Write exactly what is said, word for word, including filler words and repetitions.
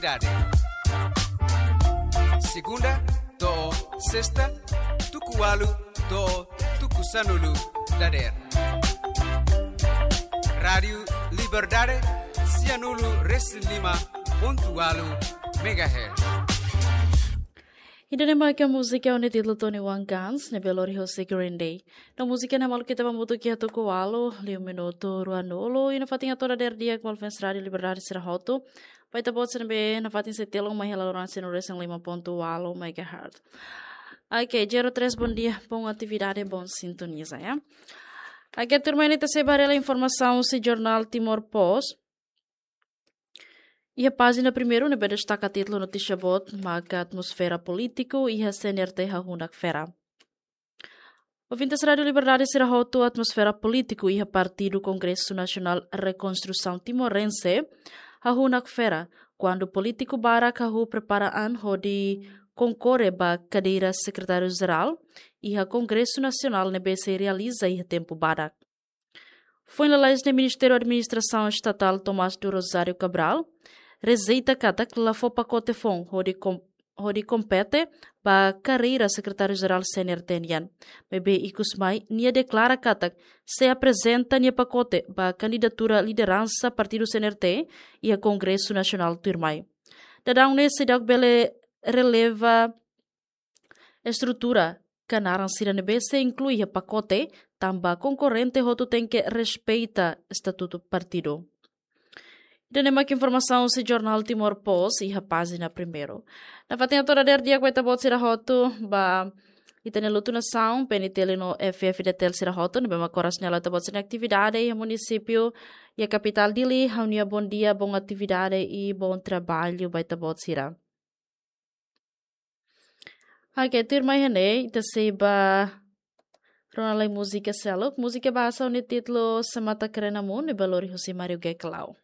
Dade. Segunda to'o sesta, tuku ualu to'o tuku sanulu dadeer. Rádiu Liberdade, sianulu resin lima pontu ualu megahertz. Ida-ne'e mak múzika ho títulu Tony One Guns, ne'ebé lori hosi Green Day. No múzika ne'e maluk ita ba hamutuk iha tuku ualu, liu minutu ruanulu, i nafatin hato'o dadeer di'ak ba ouvinte Rádiu Liberdade sira hotu. Ba ita-boot sira ne'ebé nafatin sei telun mai hela loran sianulu resin lima pontu ualu megahertz. Ok, zero três, bom dia, bom atividade, bom sintoniza, ya. Ok, tuirmai ne'e ita sei ba haree hela informasaun husi jornál Timor Post. Iha pájina primeiru ne'ebé destaka títulu notísia boot maka atmosfera polítiku iha C N R T hahú nakfera. Ouvinte Rádiu Liberdade sira hotu, atmosfera polítiku iha Partidu Kongresu Nasionál Rekonstrusaun Timorense hahú nakfera, kuandu polítiku barak hahú prepara an hodi konkorre ba kadeira sekretáriu-jerál iha Kongresu Nasionál ne'ebé sei realiza iha tempu badak. Foin lalais ne'e Ministériu Administrasaun Estatál Tomás do Rosário Cabral rejeita katak la fó pakote foun hodi kom-, hodi kompete ba kadeira sekretáriu-jerál C N R T nian. Maibé ikus mai nia deklara katak sei aprezenta nia pakote ba kandidatura lideransa Partidu C N R T iha Kongresu Nasionál tuirmai. Daudaun ne'e seidauk bele releva estrutura ka naran sira ne'ebé sei inklui iha pakote, tanba konkorrente hotu tenke respeita estatutu partidu. Ida-ne'e mak informasaun husi jornál Timor Post iha pájina primeiru. Nafatin hato'o dadeer di'ak ba ita-boot sira hotu, ba ita-nia Lutu Nasaun, P N T L no F F D T L sira hotu, ne'ebé mak oras ne'e halo ita-boot sira-nia atividade iha munisípiu, iha kapitál Dili, ha'u-nia bom dia, bom atividade i bom trabalho ba ita-boot sira. Ok, tuirmai iha ne'e, ita sei ba rona lai múzika seluk. Múzika bahasa ho títulu Se Mata Krena Mu, ne'ebé lori hosi Mario Geklau.